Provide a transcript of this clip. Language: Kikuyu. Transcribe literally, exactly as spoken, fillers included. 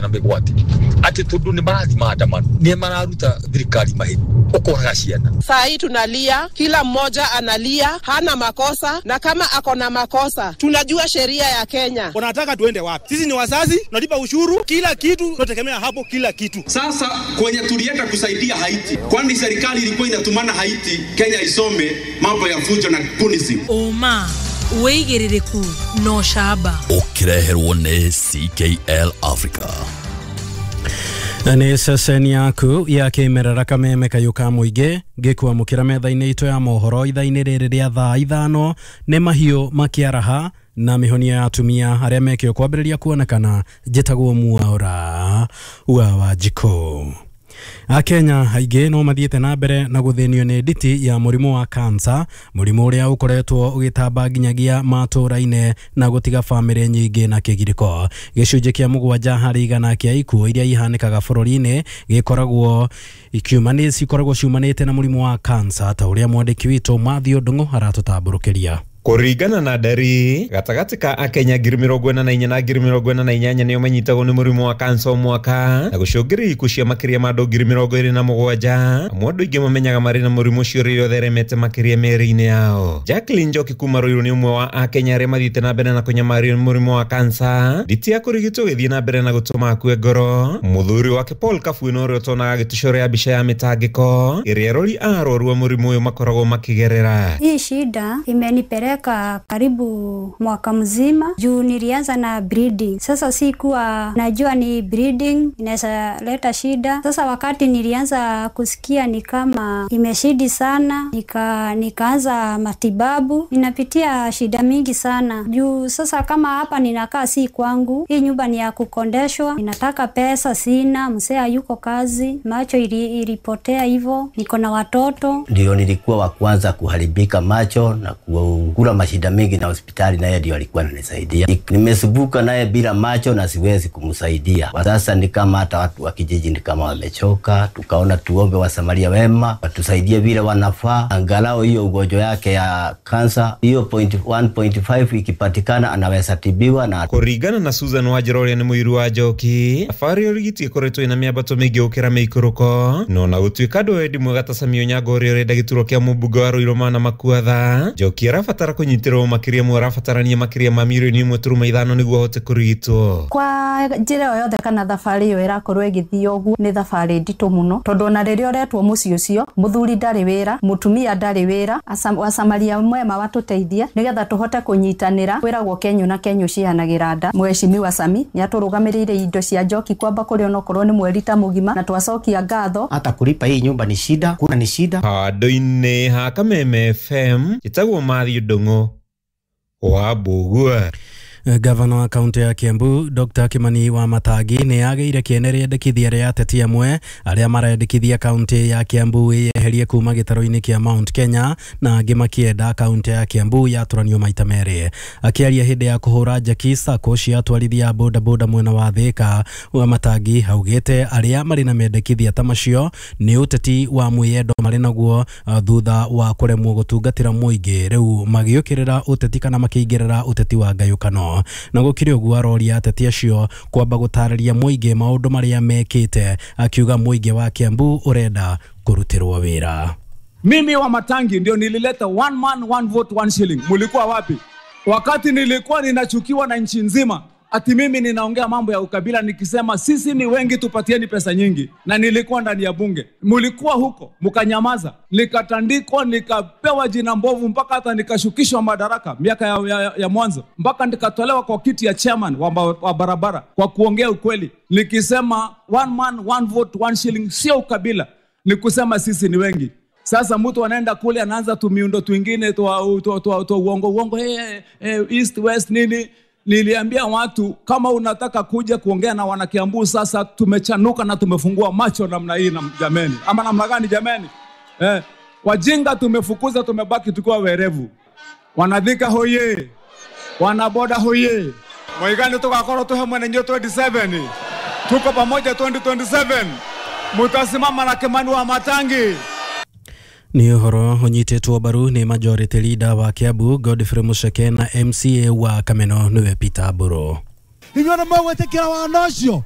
mĩgwate atĩ tondũ nĩ marathi maandamano nĩ mararuta thirikari mahĩtia ũkoraga ciana. Saa hii tunalia, kila mmoja analia, hana makosa, na kama ako na makosa tunajua sheria ya Kenya. Wanataka tuende wapi? Sisi ni wazazi, tunalipa ushuru, kila kitu tunategemea hapo, kila kitu. Sasa kwenye tulienda kusaidia Haiti, kwani serikali ilikuwa inatumana Haiti Kenya isome mambo ya fujo na kunism. Oma wĩigĩrĩrĩku no shaba ũkĩreherwo nĩ C K L Africa. Nĩ ceceni yaku ya kĩmerera kameme kayũ ka mũingĩ ngĩkwamũkĩra metha-inĩ itũ ya mohoro ithaa-inĩ rĩrĩ rĩa thaa ithano nĩ mahiũ makĩaraha na mĩhonia ya atumia arĩa mekĩo kwambĩrĩria kuonekana. Njĩtagwo Mwaura wa Wanjikũ. Akenya aingĩ no mathiĩte na mbere na gũthĩnio nĩ nditi ya mũrimũ wa kansa, mũrimũ ũrĩa ũkoretwo ũgĩtamba nginyagia matũũra-inĩ na gũtiga bamĩrĩ nyingĩ na kĩgirĩko. Gĩcunjĩ kĩa mũgwanja harĩ igana kĩa ikuũ iria ihanĩkaga bũrũri-inĩ gĩkoragwo ikiumani cikoragwo ciumanĩte na mũrimũ wa kansa, ta ũrĩa mwandĩki witũ Mathew Ndung'u aratũtambũrũkĩria. Kũringana na ndari gatagatĩ ka akenya ngiri mĩrongo ĩna na inya na ngiri mĩrongo ĩna na inyanya nĩo manyitagwo nĩ mũrimũ wa kansa o mwaka na gũcũngĩrĩria ikuũ cia makĩria ma andũ ngiri mĩrongo ĩrĩ na mũgwanja. Amwe andũ aingĩ mamenyaga marĩ na mũrimũ ũcio rĩrĩa ũtheremete makĩria mĩĩrĩ-inĩ yao. Jacqueline Njoki kuma Ruiru nĩ ũmwe wa akenya arĩa mathiĩte na mbere na kũnyamario nĩ mũrimũ wa kansa. Nditi ya kũrigitwo ĩgĩthiĩ na mbere na gũtũma akue ngoro. Mũthuri wake Paul Kabuĩ ũrĩa ũtonaga agĩtũcorea mbica ya mĩtangĩko ĩrĩa arori a arwaru a mũrimũ ũyũ makoragwo makĩgerera. Hii shida imenipeleka karibu mwaka mzima juu nilianza na bleeding. Sasa sikuwa najua ni bleeding inaweza leta shida. Sasa wakati nilianza kusikia ni kama imeshidi sana, nika nikaanza matibabu. Ninapitia shida mingi sana juu sasa kama hapa ninakaa si kwangu, hii nyumba ni ya kukondeshwa, ninataka pesa sina, mzee yuko kazi, macho ili, ilipotea hivyo, niko na watoto. Ndio nilikuwa wa kwanza kuharibika macho na kula mashida mingi na hospitali, naye ndio alikuwa ananisaidia. Nimesumbuka naye bila macho na siwezi kumsaidia. Kwa sasa ni kama hata watu wa kijiji ni kama wamechoka, tukaona tuombe wasamaria wema watusaidie vile wanafaa, angalau hiyo ugonjwa yake ya kansa hiyo point one point five ikipatikana anaweza tibiwa. Na kũringana na Susan Wanjira ũrĩa nĩ mũiru wa Njoki, thabarĩ ya ũrigiti ĩkoretwo ĩna mĩambato mĩingĩ gũkĩra mĩikũrũko, no na gũtuĩka andũ wendi mwega ta Sami Onyango ũrĩa ũrenda gĩturwa kĩa mũmbunge wa Ruiru Mana Makuatha, Njoki arabatara kũnyitĩrĩrwo makĩria mwe arabatarania makĩria ma mirioni ĩmwe turuma ithano nĩguo ahote kũrigitwo. Kwa njĩra o yothe kana thabarĩ ĩyo ĩrakorwo ĩgĩthiĩ ũguo nĩ thabarĩ nditũ mũno, tondũ ona rĩrĩa ũretwo mũciĩ ũcio mũthuri ndarĩ wĩra, mũtumia ndarĩ wĩra, wasamaria mwema watũteithie nĩgetha tũhote kũnyitanĩra. Kwĩragwo kenyũ na kenyũ cihanagĩra nda. Mheshimiwa Sami nĩatũrũgamĩrĩire indo cia Njoki kwamba kũrĩ onokorwo nĩ mweri ta mũgima, na twacokia ngatho. Hata kulipa hii nyumba ni shida, kuna ni shida. Handũ-inĩ ha Kameme F M njĩtagwo Mathew Ndung'u wa Mbũgua. Gavana wa kaunti ya Kiambu Doctor Kimani wa Matangi nĩ agĩire kĩene rĩendekithia rĩa ateti amwe arĩa marendekithia kaunti ya Kiambu ĩyeherie kuma gĩtarũ-inĩ kĩa Mount Kenya na angĩ makĩenda kaunti ya Kiambu yatũranio maita merĩ. Akĩaria hĩndĩ ya kũhũra njeki sacco cia atwarithia boda boda mwena wa Thika, wa Matangi augĩte arĩa marĩ na mendekithia ta macio nĩ ũteti wa mwĩyendo marĩ naguo thutha wa kũremwo gũtungatĩra mũingĩ, rĩu magĩũkĩrĩra ũteti kana makĩingĩrĩra ũteti wa ngayũkano. Na gũkĩrĩ ũguo aroria ateti acio kwamba gũtarĩria mũingĩ maũndũ marĩa mekĩte, akiuga mũingĩ wa Kiambu ũrenda kũrutĩrwo wĩra. Mimi wa Matangi ndio nilileta one man one vote one shilling. Mulikuwa wapi wakati nilikuwa ninachukiwa na nchi nzima ati mimi ninaongea mambo ya ukabila nikisema sisi ni wengi tupatieni pesa nyingi, na nilikuwa ndani ya bunge. Mulikuwa huko mkanyamaza, nikatandikwa, nikapewa jina mbovu mpaka hata nikashukishwa madaraka miaka ya, ya, ya mwanzo, mpaka nikatolewa kwa kiti ya chairman wa, wa barabara kwa kuongea ukweli nikisema one man one vote one shilling sio ukabila, ni kusema sisi ni wengi. Sasa mtu anaenda kule anaanza tu miundo twingine tu tu tu uongo uongo, hey, hey, east west nini. Niliambia watu kama unataka kuja kuongea na wanakiambu sasa tumechanuka na tumefungua macho namna hii na jameni. Ama namna gani jameni? Eh, wajinga tumefukuza, tumebaki tukiwa werevu. Wanadhika hoye, wanaboda hoye. Mwaigani tukakoro tuhe mwenye twenty-seven. Tuko pamoja twenty twenty-seven. Mutasimama na Kimani wa Matangi. Ni ũhoro ũnyitĩtwo mbaru nĩ majority leader wa Kiambu Godfrey Mucheke na M C A wa Kameno nĩwe Peter Mburu. Inyuĩ nĩ mũgwĩtĩkĩra wana ũcio?